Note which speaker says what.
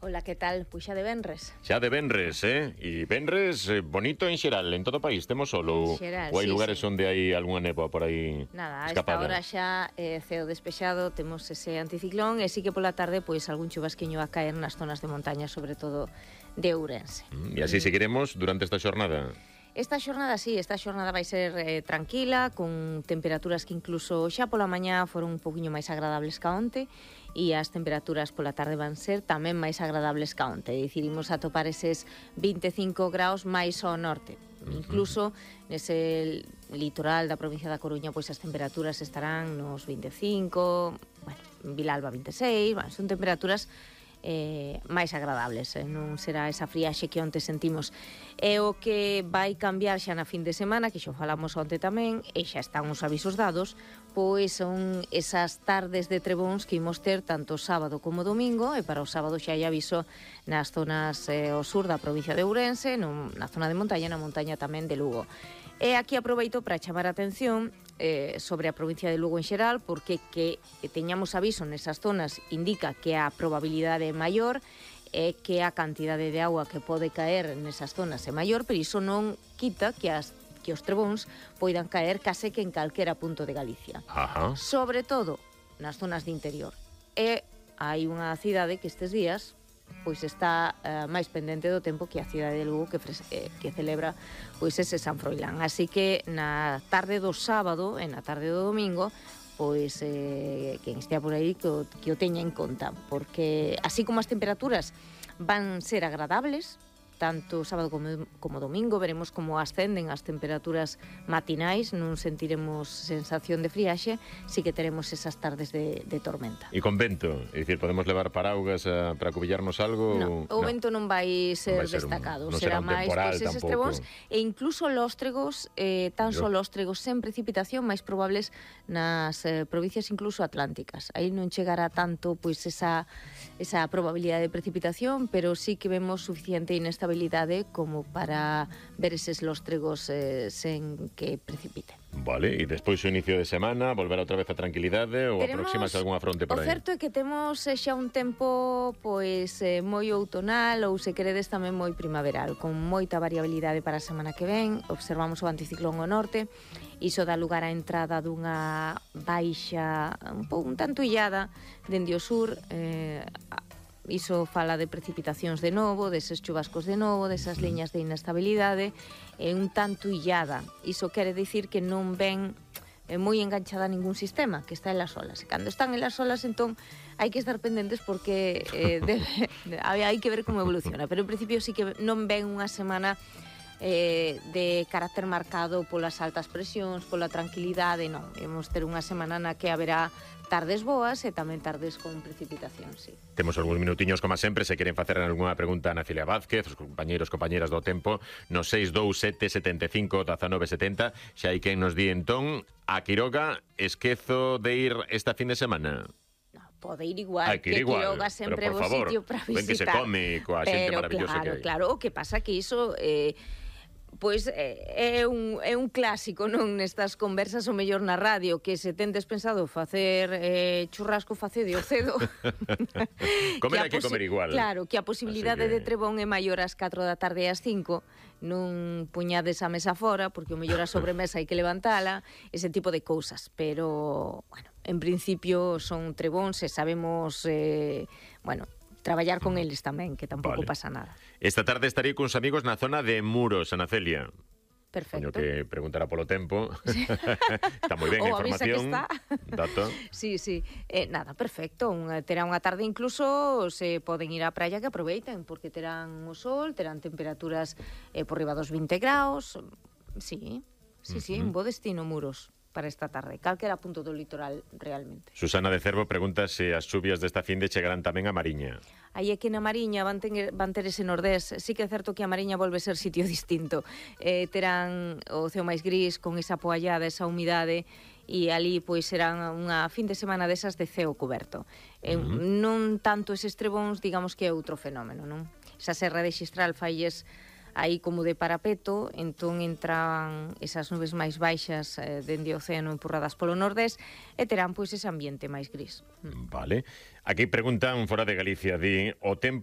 Speaker 1: Ola, que tal? Pois xa de venres.
Speaker 2: Xa de venres, E venres bonito en xeral, en todo o país, temos solo.
Speaker 1: Xeral,
Speaker 2: Ou hai
Speaker 1: sí,
Speaker 2: lugares
Speaker 1: sí.
Speaker 2: onde hai algunha néboa por aí
Speaker 1: Nada, a esta
Speaker 2: escapada?
Speaker 1: hora xa ceo despexado, temos ese anticiclón e sí que pola tarde pois algún chubasquiño a caer nas zonas de montaña, sobre todo de Ourense.
Speaker 2: E así seguiremos durante esta xornada.
Speaker 1: Esta xornada vai ser tranquila, con temperaturas que incluso xa pola mañá foron un poquinho máis agradables ca onte, e as temperaturas pola tarde van ser tamén máis agradables ca onte. É dicir, imos a topar eses 25 graus máis ao norte. Incluso nese litoral da provincia da Coruña, pois as temperaturas estarán nos 25, bueno, en Vilalba 26, bueno, son temperaturas máis agradables, non será esa friaxe que onte sentimos. E o que vai cambiar xa na fin de semana, que xo falamos onte tamén, e xa están os avisos dados, pois son esas tardes de trebóns que imos ter tanto sábado como domingo, e para o sábado xa hai aviso nas zonas ao sur da provincia de Ourense, na zona de montaña, na montaña tamén de Lugo. E aquí aproveito para chamar a atención sobre a provincia de Lugo en xeral, porque que teñamos aviso nesas zonas indica que a probabilidade é maior e que a cantidade de agua que pode caer nesas zonas é maior, pero iso non quita que os trebóns poidan caer case que en calquera punto de Galicia.
Speaker 2: Ajá.
Speaker 1: Sobre todo nas zonas de interior. E hai unha cidade que estes días pois está máis pendente do tempo que a cidade de Lugo que celebra pois ese San Froilán. Así que na tarde do sábado e na tarde do domingo pois quen estea por aí que o teña en conta, porque así como as temperaturas van ser agradables tanto sábado como domingo, veremos como ascenden as temperaturas matinais, non sentiremos sensación de friaxe, sí que teremos esas tardes de tormenta.
Speaker 2: E con vento, é dicir, podemos levar paraugas para cubillarnos algo?
Speaker 1: No, o vento non vai ser destacado, será máis pois eses trebóns e incluso lóstregos, tan só lóstregos sen precipitación máis probables nas provincias incluso atlánticas. Aí non chegará tanto pois esa probabilidade de precipitación, pero sí que vemos suficiente inestabilidade como para ver eses lóstregos sen que precipite.
Speaker 2: Vale, e despois o inicio de semana, volver outra vez a tranquilidade ou aproximase algunha fronte por aí?
Speaker 1: O certo é que temos xa un tempo pois moi outonal ou se queredes tamén moi primaveral, con moita variabilidade para a semana que ven. Observamos o anticiclón ao norte, iso dá lugar á entrada dunha baixa un tanto illada dende o sur, iso fala de precipitacións de novo, deses chubascos de novo, desas liñas de inestabilidade, un tanto illada. Iso quere dicir que non ven moi enganchada a ningún sistema, que está en las olas. E cando están en las olas, entón, hai que estar pendentes porque hai que ver como evoluciona. Pero en principio sí que non ven unha semana de carácter marcado polas altas presións, pola tranquilidade, non. Vamos ter unha semana na que haberá tardes boas e tamén tardes con precipitación, sí.
Speaker 2: Temos algúns minutiños, como sempre, se queren facer algunha pregunta a Ana Celia Vázquez, os compañeras do tempo, no 627 75 19 70, xa hai quen nos di entón, a Quiroga, esquezo de ir esta fin de semana?
Speaker 1: Pode ir igual, que Quiroga sempre é o sitio para visitar.
Speaker 2: Ben que se come coa xente maravillosa que hai.
Speaker 1: Claro, o que pasa que iso pois é un clásico, non, nestas conversas o mellor na radio, que se tendes pensado facer churrasco facedio cedo.
Speaker 2: Comer hai que comer igual.
Speaker 1: Claro, que a posibilidade de trebón é maior ás 4 da tarde e ás 5, non puñades a mesa fora, porque o mellor a sobremesa hai que levantala, ese tipo de cousas, pero, bueno, en principio son trebóns e sabemos, traballar con eles tamén, que tampouco pasa nada.
Speaker 2: Esta tarde estarei cuns amigos na zona de Muros, Ana Celia.
Speaker 1: Perfecto.
Speaker 2: Coño que preguntará polo tempo. Está moi ben a información. Dato.
Speaker 1: Sí. Nada, perfecto. Terá unha tarde incluso, se poden ir á praia que aproveiten, porque terán o sol, terán temperaturas por riba dos 20 graus. Sí, un bo destino Muros para esta tarde, calquera punto do litoral realmente.
Speaker 2: Susana de Cervo pregunta se as chuvias desta finde chegarán tamén a Mariña.
Speaker 1: Aí é que na Mariña van ter ese nordés. Sí que é certo que a Mariña volve ser sitio distinto. Terán o ceo máis gris con esa poallada, esa humidade, e ali pois serán unha fin de semana desas de ceo coberto. Non tanto eses trebóns, digamos que é outro fenómeno, non? Esa serra de Xistral failles aí como de parapeto, entón entran esas nubes máis baixas dende o océano empurradas polo nordés e terán pois ese ambiente máis gris.
Speaker 2: Vale. Aquí preguntan fora de Galicia, di, o tempo